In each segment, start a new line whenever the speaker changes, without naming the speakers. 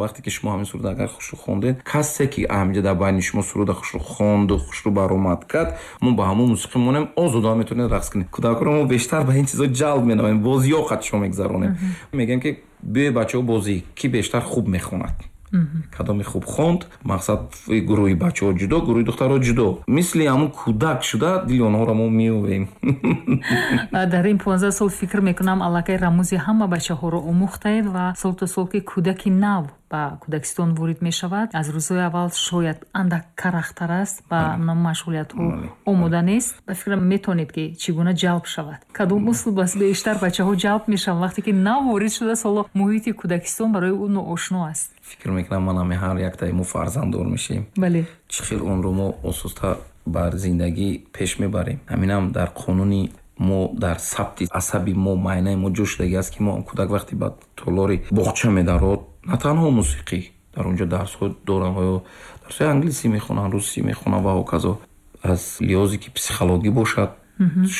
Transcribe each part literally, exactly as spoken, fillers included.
Вақте ки шумо ҳамин суруд агар хушрӯ хондед, касе ки ҳаминҷа дар байни шумо суруда хушрӯ хонду хушрӯ баромад кард, мо ба ҳамон мусиқӣ монем, озодона метавонед рақс кунед. Кӯдакро мо бештар ба ин чизо ҷалб менамоем, бозиҳо қадшо мегузаронем. Мегӯем ки биёй бачаҳо бозӣ, ки бештар хуб мехонад. Кадоме хуб хонд, мақсад гурӯҳи бачаҳо ҷудо, гурӯҳи духтарҳо ҷудо. Мисли ҳамун кӯдак шуда дили онҳоро мо меёвем.
Дар ин понздаҳ сол фикр мекунам аллакай рамузи ҳама бачаҳоро омӯхтаед ва сол то сол ки кӯдаки нав ба кӯдакистон ворид мешавад, аз рӯзҳои аввал шояд андак карахтар аст, ба машғулиятҳо омода нест. Ба фикрам метавонед ки чӣ гуна ҷалб шавад, кадом услуб аст бештар бачаҳо ҷалб мешаванд вақте ки нав ворид шудааст, ҳоло муҳити кӯдакистон барои ӯ ноошно аст.
Фикр мекунам ман ҳами ҳар яктаи мо фарзанддор мешавем.
Бале.
Чӣ хел онро мо осуста бар зиндагӣ пеш мебарем. Ҳаминам дар қонуни мо, дар сабти асаби мо, майнаи мо ҷо шудагӣ аст ки мо кӯдак вақте ба толори боғча медарод, на танҳо мусиқӣ, дар онҷо дарсҳо доранд, ё дарсҳои англисӣ мехонанд, русӣ мехонанд ва ҳоказо. Аз лиҳозе ки психологӣ бошад,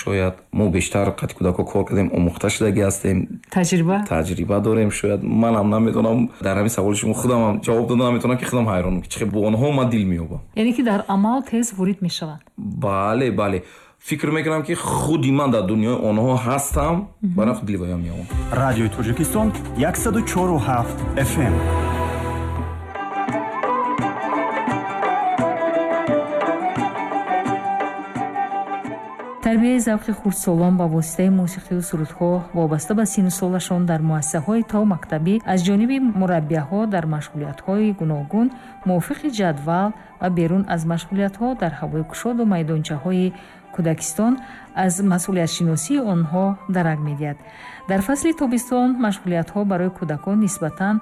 шояд мо бештар қати кӯдакҳо кор кардем, омӯхта шудагӣ ҳастем,
таҷриба
таҷриба дорем. Шояд манам намедонам, дар ҳамин саволи шумо худамам ҷавоб дода наметавонам ки худам ҳайронам ки чӣ хел бо онҳо ман дил меёбам.
Яъне ки дар амал тез ворид мешаванд.
Бале, бале. Фикр мекунам ки худи ман дар дунёи онҳо ҳастам, барои худ дилвоям меёбам.
Радиои Тоҷикистон яксаду чору ҳафт эф эм.
Тарбияи завқи хурдсолон ба воситаи мусиқию сурудҳо вобаста ба синну солашон дар муассисаҳои томактабӣ аз ҷониби мураббияҳо дар машғулиятҳои гуногун мувофиқи ҷадвал ва берун аз машғулиятҳо дар ҳавои кушоду майдончаҳои кӯдакистон аз масъулиятшиносии онҳо дарак медиҳад. Дар фасли тобистон машғулиятҳо барои кӯдакон нисбатан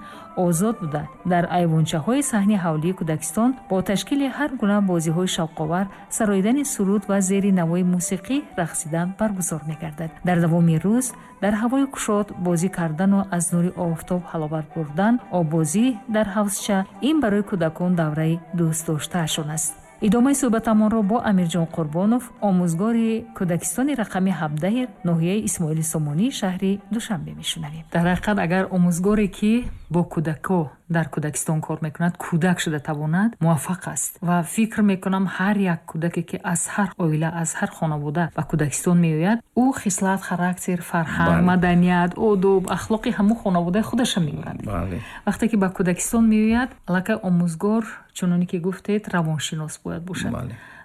озод буда, дар айвончаҳои саҳни ҳавлии кӯдакистон бо ташкили ҳар гуна бозиҳои шавқовар, сароидани суруд ва зери навои мусиқӣ рақсидан баргузор мегардад. Дар давоми рӯз дар ҳавои кушод бозӣ кардану аз нури офтоб ҳаловат бурдан, оббозӣ дар ҳавзча ин барои кӯдакон давраи дӯстдоштаашон аст. Идомаи суҳбатамонро бо Амирҷон Қурбонов, омӯзгори кӯдакистони рақами ҳабдаҳи ноҳияи Исмоили Сомонӣ шаҳри Душанбе мешунавем. Дар ҳақиқат агар омӯзгоре ки бо кӯдакҳо дар кӯдакистон кор мекунад, кӯдак шуда тавонад, муваффақ аст. Ва фикр мекунам ҳар як кӯдаке ки аз ҳар оила, аз ҳар хонавода ба кӯдакистон меояд, ӯ хислат, характер, фарҳанг, маданият, одоб, ахлоқи ҳамун хонаводаи худаша меорад. Вақте ки ба кӯдакистон меояд, аллакай омӯзгор, чуноне ки гуфтед, равоншинос бояд бошад.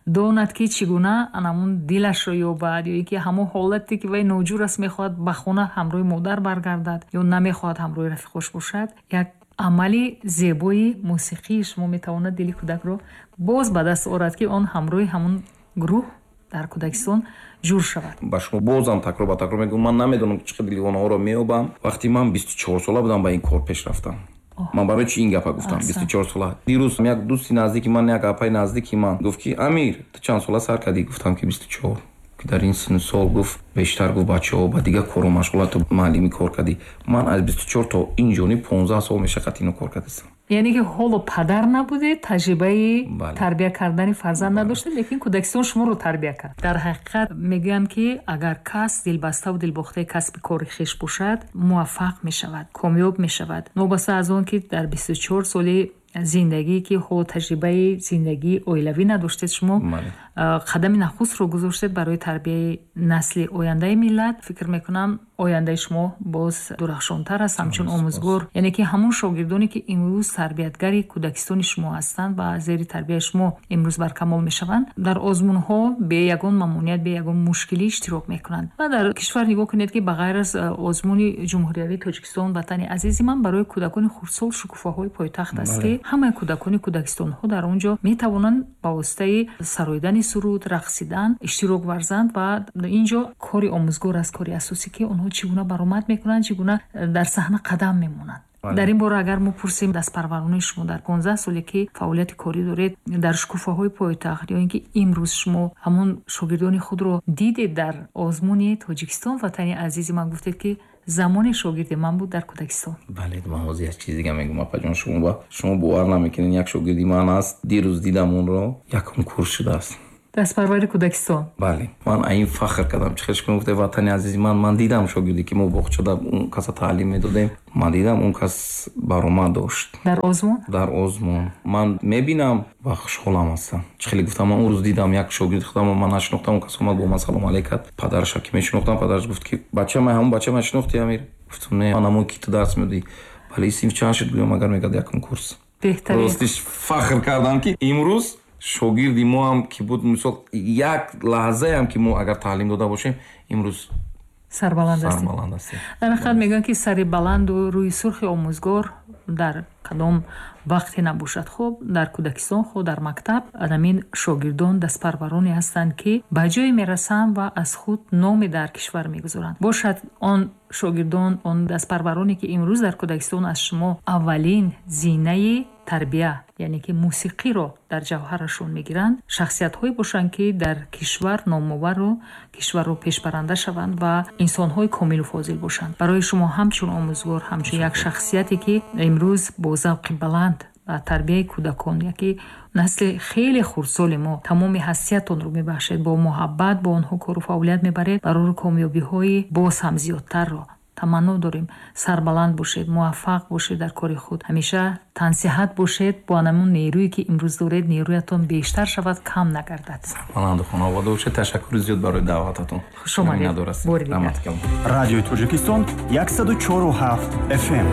Донад ки чӣ гуна анамун дилашро ёбад, ё ин ки ҳамон ҳолате ки вай ноҷур аст, мехоҳад ба хона ҳамроҳи модар баргардад ё намехоҳад ҳамроҳи рафиқош бошад. Як амали зебои мусиқии шумо метавонад дили кӯдакро боз ба даст орад, ки он ҳамроҳи ҳамун гурӯҳ дар кӯдакистон ҷур шавад.
Ба шумо бозам такрор ба такрор мегӯям, ман намедонам чӣ қадр дили онҳоро меёбам. Вақте ман бисту чор сола будам ба ин кор пеш рафтам. Ман барои чӣ ин гапа гуфтам? Бисту чор сола. Дирӯз як дӯсти наздики ман, як апаи наздики ман гуфт ки Амир, ту чанд сола сар кардӣ? Гуфтам ки бисту чор. Ки дар ин синну сол гуфт бештар гуфт бачаҳо ба дигар кору машғулат, ту маълимӣ кор кардӣ. Ман аз бисту чор то ин ҷониб понздаҳ сол мешаққат ино кор кардастам.
Яъне ки ҳоло падар набудед, таҷрибаи тарбия кардани фарзанд надоштед, лекин кӯдакистон шуморо тарбия кард. Дар ҳақиқат мегӯянд ки агар кас дилбаставу дилбохтаи касби кори хеш бошад, муваффақ мешавад, комёб мешавад. Новобаста аз он ки дар бисту чор соли зиндагӣ ки ҳоло таҷрибаи зиндагии оилавӣ надоштед, шумо қадами нахустро гузоштед барои тарбияи насли ояндаи миллат. Фикр мекунам ояндаи шумо боз дурахшонтар аст ҳамчун омӯзгор. Яъне ки ҳамон шогирдоне ки имрӯз тарбиятгари кӯдакистони шумо ҳастанд ва зери тарбияи шумо имрӯз баркамол мешаванд, дар озмунҳо бе ягон мамоният, бе ягон мушкилӣ иштирок мекунанд. Ва дар кишвар нигоҳ кунед ки ба ғайр аз озмуни ҷумҳуриявии Тоҷикистон ватани азизи ман барои кӯдакони хурдсол шукуфаҳои пойтахт аст, ки ҳамаи кӯдакони кӯдакистонҳо дар он ҷо метавонанд ба воситаи сароидани суруд, рақсидан иштирок варзанд. Ва ин ҷо кори омӯзгор аст, кори асосӣ, ки онҳо чӣ гуна баромад мекунанд, чӣ гуна дар саҳна қадам мемонанд. Дар ин бора агар мо пурсем, дастпарварони шумо дар понздаҳ соле ки фаъолияти корӣ доред дар шукуфаҳои пойтахт, ё ин ки имрӯз шумо ҳамон шогирдони худро дидед дар озмуни Тоҷикистон ватани азизи ман, гуфтед ки замоне шогирди ман буд дар кӯдакистон.
Бале, ман ҳозир як чиз дига мегӯям, апаҷон, шумо ба шумо бовар намекунед, як шогирди ман аст, дирӯз дидам онро, якум курс шудааст.
Дастпарвари кӯдакистон.
Бале, ман ин фахр кардам. Чӣ хел гуфте, ватани азизи ман, ман дидам шогирде ки мо боғчада он каса таълим медодем, ман дидам он кас баромад дошт.
Дар озмун?
Дар озмун. Ман мебинам ва хушҳолам ҳастам. Чӣ хеле гуфтам, ман он рӯз дидам як шогирди худам, ман нашинохтам, он кас омад бо ман салом алейк кард. Падараша ки мешинохтам, падараш гуфт ки бача ман ҳамон бача ман шинохти, Амир? Гуфтам не, ман ҳамон ки ту дарс медодӣ. Бале, синф чанд шуд? Гӯям агар мегӯяд якум курс.
Беҳтарин.
Ростиш фахр кардам ки имрӯз шогирди мо ҳам ки буд, мисол як лаҳзаам ки мо агар таълим дода бошем, имрӯз
сарбаланд ҳастем.
Сарбаланд ҳастем.
Дар ҳақиқат мегӯянд ки сари баланду рӯи сурхи омӯзгор дар кадом вақте набошад, хуб дар кӯдакистон, хуб дар мактаб, ҳамин шогирдон дастпарвароне ҳастанд ки ба ҷое мерасанд ва аз худ номе дар кишвар мегузоранд. Бошад он шогирдон, он дастпарвароне ки имрӯз дар кӯдакистон аз шумо аввалин зинаи тарбия, яъне ки мусиқиро дар ҷавҳарашон мегиранд, шахсиятҳое бошанд ки дар кишвар номовару кишварро пешбаранда шаванд ва инсонҳои комилу фозил бошанд. Барои шумо ҳамчун омӯзгор, ҳамчун як шахсияте ки имрӯз бо завқи баланд ба тарбияи кӯдакон, яке насли хеле хурдсоли мо, тамоми ҳастиятонро мебахшед, бо муҳаббат бо онҳо кору фаъолият мебаред, барори комёбиҳои боз ҳам зиёдтарро таманно дорем. Сарбаланд бошед, муваффақ бошед дар кори худ, ҳамеша тансиҳат бошед, бо ҳамон нерӯе ки имрӯз доред, нерӯятон бештар шавад, кам нагардад.
Сарбаланду хонавода бошед. Ташаккури зиёд барои даъвататон.
Хуш омадед. Бори дигар.
Радиои Тоҷикистон яксаду чору ҳафт эф эм.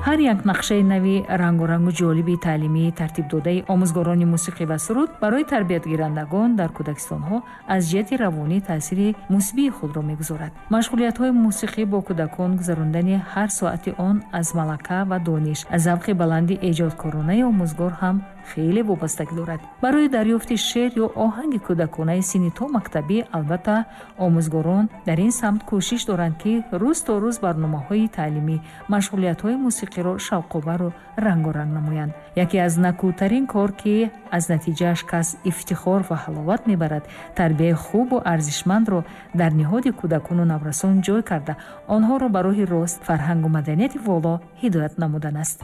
Ҳар як нақшаи нави рангорангу ҷолиби таълимии тартибдодаи омӯзгорони мусиқӣ ва суруд барои тарбиятгирандагон дар кӯдакистонҳо аз ҷиҳати равонӣ таъсири мусбии худро мегузорад. Машғулиятҳои мусиқӣ бо кӯдакон гузарондани ҳар соати он аз малака ва дониш, аз завқи баланди эҷодкоронаи омӯзгор ҳам хеле вобастагӣ дорад. Барои дарёфти шеър ё оҳанги кӯдаконаи синни то мактабӣ, албатта, омӯзгорон дар ин самт кӯшиш доранд, ки рӯз то рӯз барномаҳои таълимӣ, машғулиятҳои мусиқиро шавқовару рангоранг намоянд. Яке аз накӯтарин кор, ки аз натиҷааш кас ифтихор ва ҳаловат мебарад, тарбияи хубу арзишмандро дар ниҳоди кӯдакону наврасон ҷой карда, онҳоро ба роҳи рост, фарҳангу маданияти воло ҳидоят намудан аст.